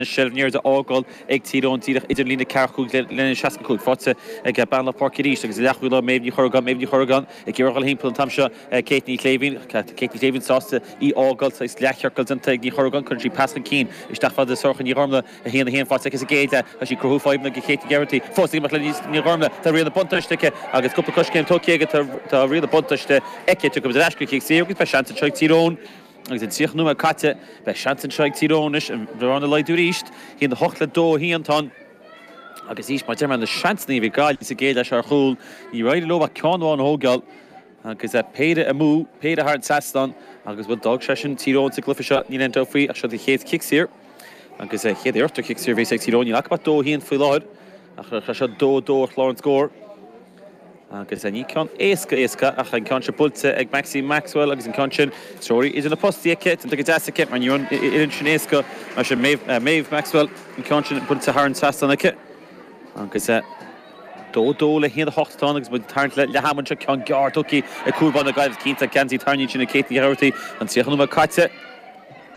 Seilbh na liathróide á fhágáil ag Tír Eoghain díreach idir an líne 45 le líne 65. Faighte ag bean Loch Páirce arís agus leathchúlaí leo Méabh Ní Chorragáin. Méabh Ní Chorragáin ag iarraidh a dhul thimpeall an t-am seo Kate Ní Shléibhín. Kate Ní Shléibhín sásta í fhágáil. Saghas leathchiorcal déanta ag Ní Chorragáin. Cuireann sí pas chun cinn isteach fada le Sorcha Ní Ghormlaith. 1, 1 faighte aici sa gcéad leath. Tá sí ag cruthú fadhbanna do Kate Ní Ghearaighty. Fós ag imeacht le Ní Ghormlaith. Tá riail na buntáiste aici agus cúpla coiscéim tógtha aici. Tá riail na buntáiste aici. Tiocfaimid ar ais go cic saor agus beidh seans anseo ag Tír Eoghain. Agus an 30 nóiméad caite, beidh seans anseo ag Tír Eoghain anois an bhearna a laghdú arís. 1, 8 le 2, 1 atá ann. Agus arís, mar a deir mé, na seansanna a bhí ag Gaillimh sa gcéad leath seo ar chúl, níor éirigh leo ach ceann amháin a thógáil. Agus péire amú, péire thar an trasnán agus, bhuel, d'fhág sé sin Tír Eoghain sa gcluiche seo, níl aon dabht faoi, ach seo an chéad chic saor. Agus an chéad iarracht ar chic saor a bheas ag Tír Eoghain, níl acu ach 2, 1 faoi láthair. Ach tá sé 2, 2 ar chlár an scóir. Agus ní ceann éasca éasca ach an ceann seo buailte ag Maxine Maxwell agus an ceann sin treoraithe idir na postaí aici, déanta go deas aici mar ní raibh an uillinn sin éasca mar sin Maeve Maxwell an ceann sin buailte thar an trasnán aici. Agus 2, 2 le 1, 8 atá ann agus muid ag tarraingt le leath ama anseo, ceann gearr tugtha ag cúl báire na Gaillimhe cinnte geansaí tarraingthe ansin ag Kate Ní Ghearaighty an 30 nóiméad caite.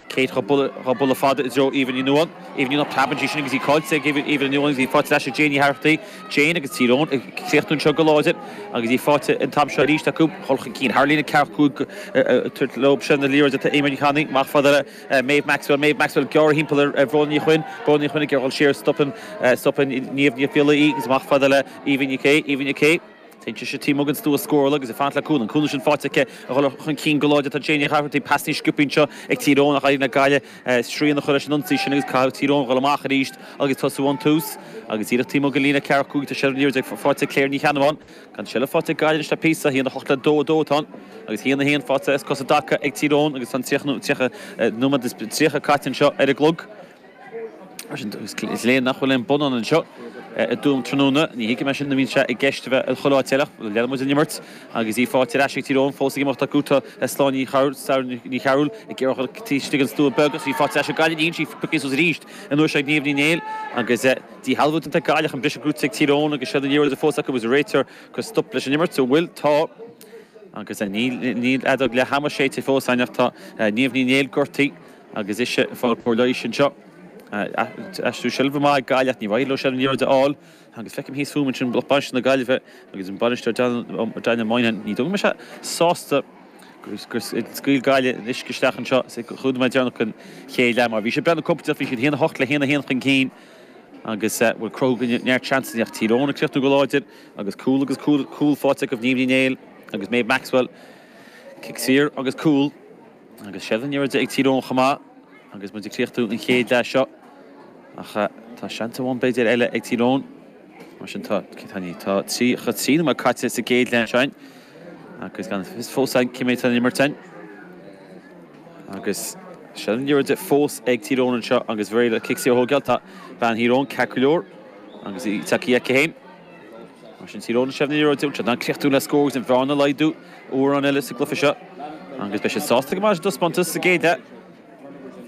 Kate dhá bualadh fada i dtreo Aoibhinn Ní Nuadháin. Aoibhinn Ní Nuadháin preabann sí sin agus í caillte ag Aoibhinn Ní Nuadháin agus í faighte ar ais ag Jane Ní Tharrachtaí. Jane agus Tír Eoghain ag críochnú anseo go láidir agus í faighte an t-am seo arís acu. Dhul chun cinn thar líne 45 tabhairt leo sin na liathróide atá Eimear Ní Channaigh amach fada le Maeve Maxwell. Maeve Maxwell gearrtha thimpeall ar Bhróna Ní Chuinn. Bróna Ní Chuinn ag iarraidh dhul siar stopann stopann Niamh Ní Fhiallaigh í agus amach fada le Aoibhinn Ní Cé. Aoibhinn Ní Cé. Téann sise taobh amuigh den stua scórála agus ag fanacht le cúl. An cúnamh sin faighte aici a dhul chun cinn go láidir. Tá Jane Ní Chathartaigh pas níos sciobtha anseo ag Tír Eoghain ach éiríonn le Gaillimh srian a chur leis an ionsaí sin agus caithfidh Tír Eoghain dhul amach arís agus tosú ón tús. Agus díreach taobh amuigh den líne 45 tá seilbh na liathróide faighte ag Claire Ní Cheannabháin. Gan seilbh faighte ag Gaillimh anois le píosa. 1, 8 le 2, 2 atá ann agus 1, 1 faighte as cos i dtaca ag Tír Eoghain agus tá an 30 nóiméad is 30 caite anseo ar an gclog. Is léir nach bhfuil aon bonnán anseo i dTuaim tráthnóna. Ní thuigim é sin nuair a bhíonn sé i gceist a bheith i chuile áit eile. Leanann muid an imirt agus í faighte ar ais ag Tír Eoghain. Fós ag imeacht acu tá Sláine Ní Chearúil, Sarah Ní Chearúil ag iarraidh a dhul taobh istigh den stua beag agus í faighte ar ais ag Gaillimh. Níl sí pioctha suas arís an uair seo ag Niamh Ní Néill agus díshealbhú déanta ag Gaillimh an briseadh gnóthaithe ag Tír Eoghain agus seilbh na liathróide fós acu agus réiteoir ag cur stop leis an imirt. An bhfuil? Tá. Agus níl fheadóg leath ama séidte fós againn ach tá Niamh Ní Néill gortaithe. Agus ise ag fáil cóir leighis anseo. Aistriú seilbhe maith ag Gaillimh ach níor éirigh leo seilbh na liathróide a fháil. Agus feicim thíos fúm ansin lucht bainistithe na Gaillimhe agus an bainisteoir Daniel Moynihan. Ní dóigh go mbeidh sé sásta gur scaoil Gaillimh an uisce isteach anseo sa chúig nóiméad deireanach den chéad leath mar bhí siad breathnú compordach, bhí siad 1-8 le 1-1 chun cinn agus bhuel cruthú neart seansanna ach Tír Eoghain ag críochnú go láidir agus cúl agus cúl cúl faighte acu Niamh Ní Néill agus Maeve Maxwell. Cic saor agus cúl. Agus seilbh na liathróide ag Tír Eoghain chomh maith agus muid ag críochnú an chéad leath seo. Ach tá seans amháin b'fhéidir eile ag Tír Eoghain. Mar sin tá, tá, tá 33 nóiméad caite sa gcéad leath anseo agus gan fios fós againn cé mhéad atá le imirt againn. Agus seilbh na liathróide fós ag Tír Eoghain anseo agus réidh le cic saor a thógáil. Tá bean Thír Eoghain ceart go leor agus í tagtha aici féin. Mar sin Tír Eoghain seilbh na liathróide, bhfuil siad in ann críochnú le scór agus an bhearna a laghdú uair amháin eile sa gcluiche seo agus beidh siad sásta go maith leis an dtaispeántas sa gcéad leath.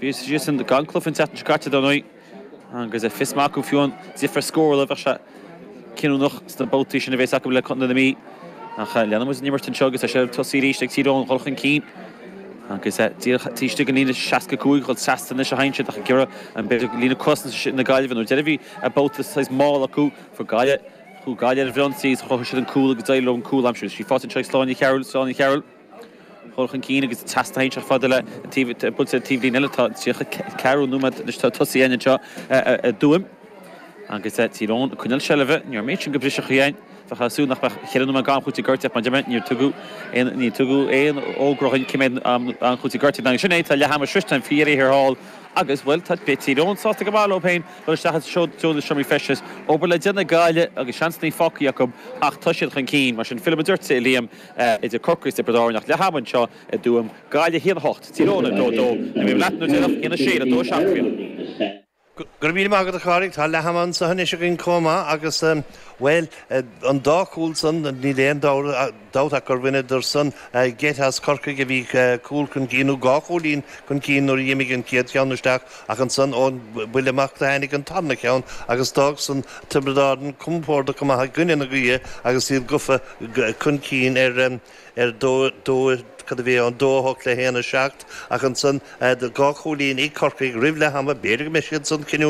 Bhí siadsan gan cluiche an tseachtain seo caite dar ndóigh agus fios maith acu fiú an difear scórála bheadh sé cinniúnach sna babhtaí sin a bheas acu le Contae na Mí. Ach leanann muid an imirt anseo agus tá seilbh tosaigh arís ag Tír Eoghain dhul chun cinn agus díreach taobh istigh den líne 65 dhul trasna anois a théann siad ach ag iarraidh an b'fhéidir líne cosanta na Gaillimhe nuair deireadh bhí babhta saghas mall acu Fuair Gaillimh, chuaigh Gaillimh ar an bhfrionsaí agus chruthaigh siad an cúl agus d'éirigh leo an cúl a aimsiú. Is í faighte anseo ag Sláine Ní Chearúil, Sláine Ní Chearúil dhul chun cinn agus trasna théann sé fada le an taobh, buailte ar an taobhlíne eile. Tá 34 nóiméad anois tosaithe againn anseo i dTuaim agus Tír Eoghain ag coinneáil seilbhe. Ní raibh an méid sin de bhriseadh againn. Bheifeá ag súil nach mbeadh cheithre nóiméad d'am chúitimh gortaithe ach mar a deir mé níor tugadh aon, níor tugadh aon fhógra dhúinn cé mhéad am chúitimh gortaithe. Agus sin é, tá leath ama sroichte againn faoi dheireadh thiar thall agus, bhuel, tá Tír Eoghain sásta go maith leo féin. Dul isteach i dtreo na seomraí feistis. Obair le déanamh ag Gaillimh agus seansanna fágtha acu ach tá siad chun cinn. Mar sin, fillfidh muid ort, a Liam, idir Corcaigh is Tiobraid Árann ach leath ama anseo i dTuaim. Gaillimh 1, 8, Tír Eoghain 2, 2. Beidh mé leat nuair déanach, 1, 6 le 2, 7 faoi. Go raibh míle maith agat a Chárthaigh. Tá leath ama anseo anois againn chomh maith agus, bhuel, an dá chúl san, níl aon dabht ach gur bhaineadar san geit as Corcaigh a bhí cúl chun cinn, nó dhá chúilín chun cinn nuair a d'imigh an chéad cheann isteach ach ansan ón bhuille amach do tháinig an tarna ceann agus d'fhág san Tiobraid Árann compordach go maith i gcoinne na gaoithe agus iad gafa chun cinn ar ar 2, 2. cad a bhí ann, 2, 8 le 1, 7, ach ansan 2 chúilín ag Corcaigh roimh leath ama, b'fhéidir go mbeidh siad san cinniúnach.